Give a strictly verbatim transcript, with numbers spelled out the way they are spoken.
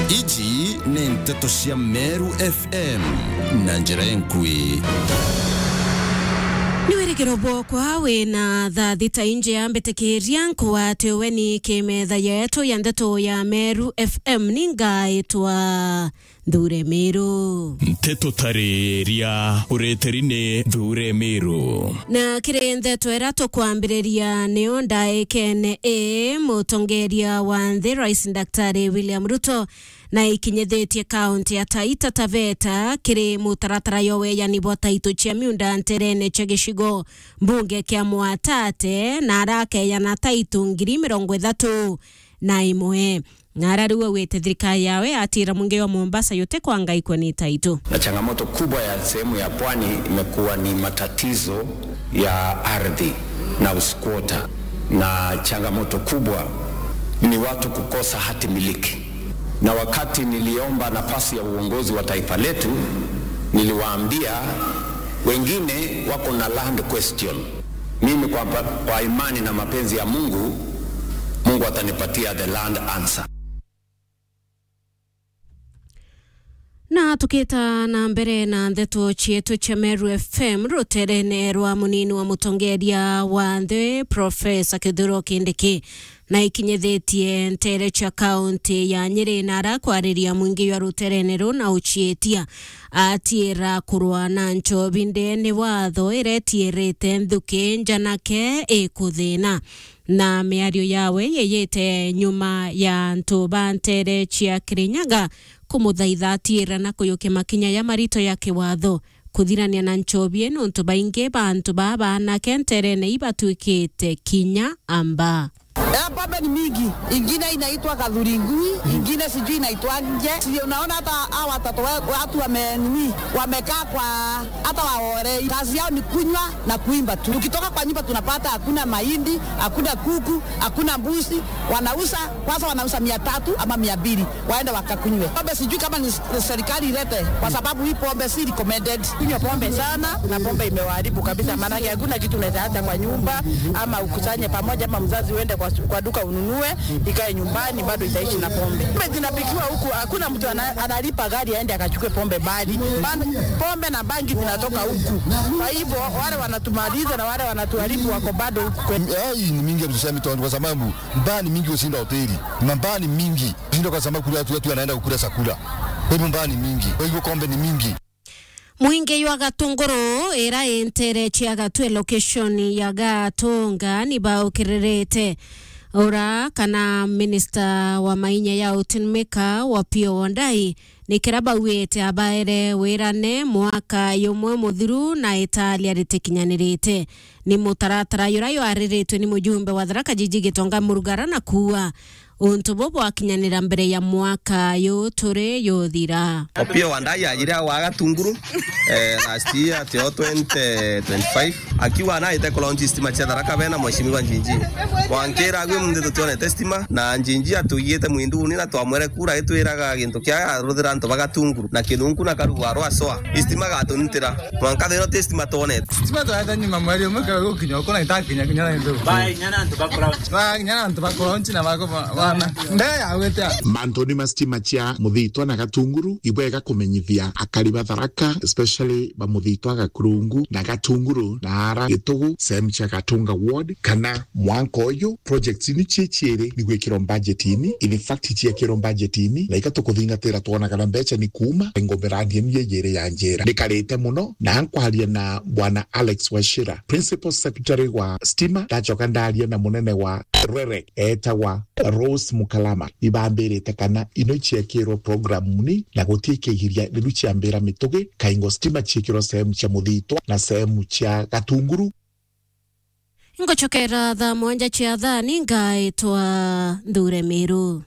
Iji ni nteto cia Meru F M na njira enkui. Ni wirigiro bwokwa wina thaa thita injea mbitikiria nkwate weni kimetha yetu ya nteto ya Meru F M, ni ngaitwa Nthure Miru. Nteto tariria ureteri ni Nthure Miru. Na kiri nteto iria tukwambiriria, nio ndaikene ii mutongeria wa nthi, Rais Daktari William Ruto, na ikinyithitie kaunti ya Taita Taveta kiri mutaratara yo weyani bwa taitu cia miunda nterene cia gicigo mbunge kia Mwatate, na arakeyana taitu ngiri mirongo ithatu na imwe. Na ara riu augite thirikari yawe atira mwingi wa Mombasa yute kwangaikwa ni taitu. Na changamoto kubwa ya sehemu ya pwani imekuwa ni matatizo ya ardhi na usquatter, na changamoto kubwa ni watu kukosa hati miliki. Na wakati niliomba nafasi ya uongozi wa taifa letu, niliwaambia wengine wako na land question. Mimi kwa, kwa imani na mapenzi ya Mungu, Mungu atanipatia the land answer. Na tukita na mbere na nteto cietu cia Meru F M, ruterene rwa munini wa mutongeria wa nthi, Profesa Kithure Kindiki, na ikinyithitie ntere cia kaunti ya Nyeri, na arakwariria mwingi jwa ruterene ruu na ucietia atiira kurwa na nchobi ndene watho iria itiirite nthuki njanake ikuthina. Na miario yawe yeyete nyuma ya antu ba ntere cia Kirinyaga kumuthaitha atiira na kuyukia makinya ya marito ya kiwatho kuthirania na nchobi ii, nontu baingi ba antu baa baanake nterene ibatwikite kinya amba. Eh, pombe ni mingi, ingine inaitwa kadhuringui, ingine sijui inaitwaje. Si unaona hata hawa watoto wa-, watu wame-, nini, wamekaa kwa, hata waore, kazi yao ni kunywa na kuimba tu. Tukitoka kwa nyumba tunapata hakuna mahindi, hakuna kuku, hakuna mbuzi, wanauza, kwanza wanauza mia tatu ama mia mbili, waende wakakunywe. Pombe sijui kama ni s-, serikali ilete, kwa sababu hii pombe si recommended. Kunywa pombe sana, na pombe imewaharibu kabisa, maanake hakuna kitu unaweza acha kwa nyumba, ama ukusanye pamoja, ama mzazi uende kwa, kwa duka ununue, ikae nyumbani, bado itaishi na pombe. Pombe zinapikiwa huku, hakuna mtu ana-, analipa gari aende akachukue pombe mbali. Ban-, pombe na bangi zinatoka huku. Kwa hivyo, wale wanatumaliza na wale wanatuharibu wako bado huku kwetu. Eh, hii ni mingi ya kusema tu, kwa sababu mbaa ni mingi kushinda hoteli. Na mbaa ni mingi kushinda, kwa sababu kule watu wetu wanaenda kukula chakula. Kwa hivyo mbaa ni mingi. Kwa hivyo pombe ni mingi. Mwingi jwa Gatunguru, ira i ntere cia Gatwe, location ya Gatunga, ni baukiririte ura kana minister wa mainya ya utinimika, Opiyo Wandayi, ni kira bauite abaere wirane mwaka jumwe muthiru na italia ritikinyanirite. Ni mutaratara jura jwariritwe ni mujumbe wa Tharaka Jiji Gitonga Murugara na kuuga untu bu bwakinyanira mbere ya mwaka yu turi juthira. Opiyo Wandayi ajire agwa Gatunguru, eh, last year, tio twenty twenty-five. Akiuga naite kulaunch stima cia Tharaka bena Mheshimiwa Njinji. Wankira agwe munthi tutionete stima, na Njinji atugite mwinduni na twamwere kura itwiraga gintu kia aruthira antu ba Gatunguru, na kinunku na karugu arwa soa. Stima gatunitira. Mwanka thero ti stima twonete. Stima twete nyuma mweri umwe ka gukinya uko na itakinya kinya na ndu. Ba inya na antu bakura. Ba inya na antu bakura nchi na bako ba-, bana. Nde ya gwete. Mantu ni ma stima cia Muthitwa na Gatunguru, ibwega kumenyithia akari ba Tharaka, especially ba Muthitwa, Gakurungu na Gatunguru na ara Gitugu, sehemu cia Gatunga ward, kana mwanka uyu projects ni cie ciiri ni gwikirwa budgetini, in fact ciekirwa budgetini, na ika tukuthingatira twona kana mbeca ni kuuma, ngo miradi inu yeyiri ya njira. Nikarite muno na nkwaria na Bwana Alex Wachira, Principal Secretary wa Stima, ndacoka ndaria na munene wa REREC etagwa Rose Mukalama, ibambirite kana ino ciekirwa programuni na guti kigiria riu ciambira Mitugi, kaingo stima ciekirwa sehemu cia Muthitwa na sehemu cia Gatunguru. Ngucokera thaa mwanja cia thaa, ni ngaitwa Nthure Miru.